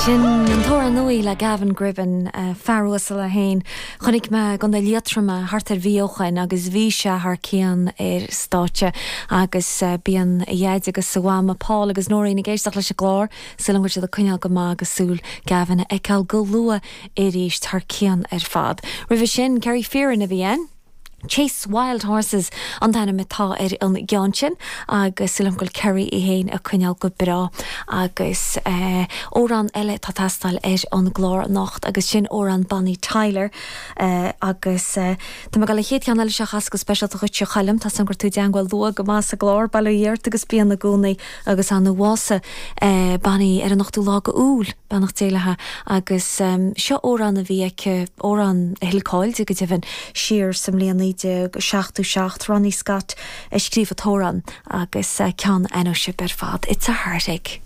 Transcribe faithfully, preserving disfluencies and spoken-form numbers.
Sin an t-amhrán nua le Gavin Gribbin uh, fear uasal é féin chonaic mé i gContae Liatroma thart ar mhí ó shin agus bhí sé thar cionn ar stáitse agus uh, bíonn a dhaid agus a mham Paul agus Nóirín ag éisteacht leis an gclár súil agam go bhfuil siad ag coinneáil go maith agus súil Gavin a fheiceáil go luath arís thar cionn ar fad. Roimhe sin Kerry Fearon a bhí ann. Chase Wild Horses an t-ainm atá ar an gceann sin agus súil agam go bhfuil Kerry é féin ag coinneáil go breá agus uh, amhrán eile tá teastáil ar an gclár anocht agus sin amhrán Bonnie Tyler uh, agus uh, Tá go le chéad cheann eile seo go speisialta dhuit a Choilm tá gur tú deanhfuil lua go más a glár bail ó Dhia ort agus bí i gcónaí agus an bhásaigh uh, Bonnie ar an ochtú lá d'Iúil beannacht Dé léithi agus um, seo amhrán a bhí aici amhrán a thuill cáil di go deimhin siar sa mbliain naoi déag seachtó seacht Ronnie Scott a scríobh an t-amhrán agus uh, ceann an-sean ar fad. It's a heartache.